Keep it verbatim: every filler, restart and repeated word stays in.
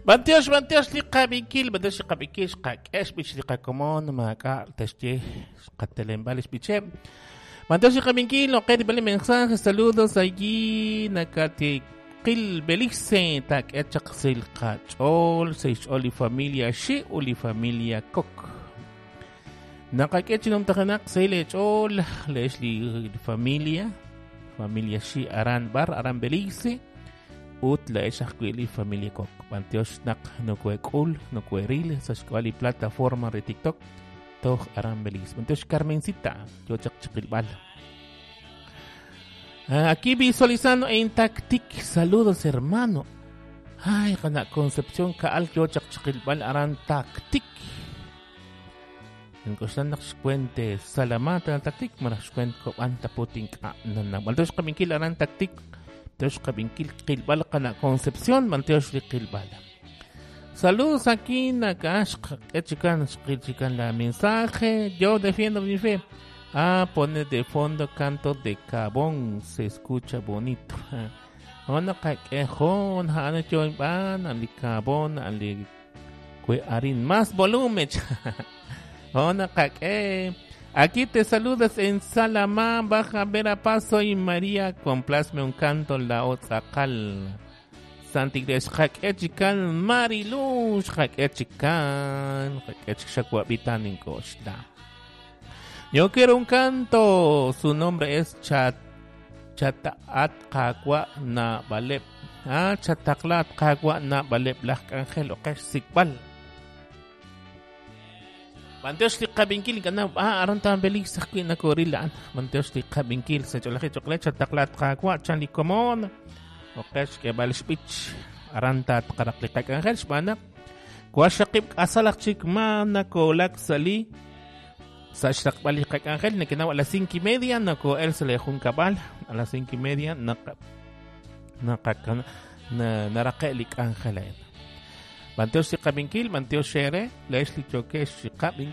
Bantiox, bantiox li qabinkil, bantiox li qabinkil, xqak'ex b'ich li qakomon, maak'a' taxye xqatelembal xb'icheb'. Bantiox li qabinkil, oqe bali mensaje, saludos allí nakatiqil Belice, tak'e chaq sil qach'ol, seix'ol li familia xi u li familia kok. Naqak'e chinom tajanaq sey lech'ol, lex li familia, familia xi aran bar, aran Belice. Ut la ex ajwi' li familia kok. Bantiox naq nokuek'ul, nokueril, sa xk'ab'a' li plataforma re TikTok, toj aran Belice. Bantiox Carmencita, yo chaq chiqilb'al. Aquí visualizando en Tactic. Saludos, hermano. Ay, kana Concepción Kaal, yo chaq chiqilb'al aran Tactic. Nkoxlan naq xkuente salamata Tactic, maraj xkuent kob'an taputin k'a nana. Bantiox qabinkil aran Tactic. Tiox qabinkil qilb'al qana Concepción, bantiox li qilb'al. Saludos aquí nakax chican chican la mensaje. Yo defiendo mi fe. Ah, pone de fondo canto de Cabón, se escucha bonito. Ona kak'ejon, hana choin ban, ali Cabón, ali kue arin más volumen. Ona kak'e. Aquí te saludas en Salamá, Baja Verapaz, soy María, complazme un canto la Otzakal. Santa Iglesia, Jaquechican, Mariluz, Jaquechican, Jaquechicacuabitan en Costa. Yo quiero un canto, su nombre es Chat, Chataat Kakwa Na Balep. Ah, Chataklat Kakwa Na Balep, Laj Ángel, Okesh Sikbal. Bantiox li qabinkil kana ah aron tan Belice ajwi' nakoril bantiox li qabinkil sa ch'olaji ch'oqle chataklat qakwa chan li komon oqex k'eb'al xb'ich aran tatqaraq li qak'anjel xb'anaq kuaxaqib' k'asalaq chik ma nakolak sali sa xraqb'al li qak'anjel nakinaw a las cinco y media nako'el sa li junkab'al a las cinco y media naqa naqa naraqe' li k'anjel a'in. Bantiox li qabinkil, bantiox xere, lex li chokex qabin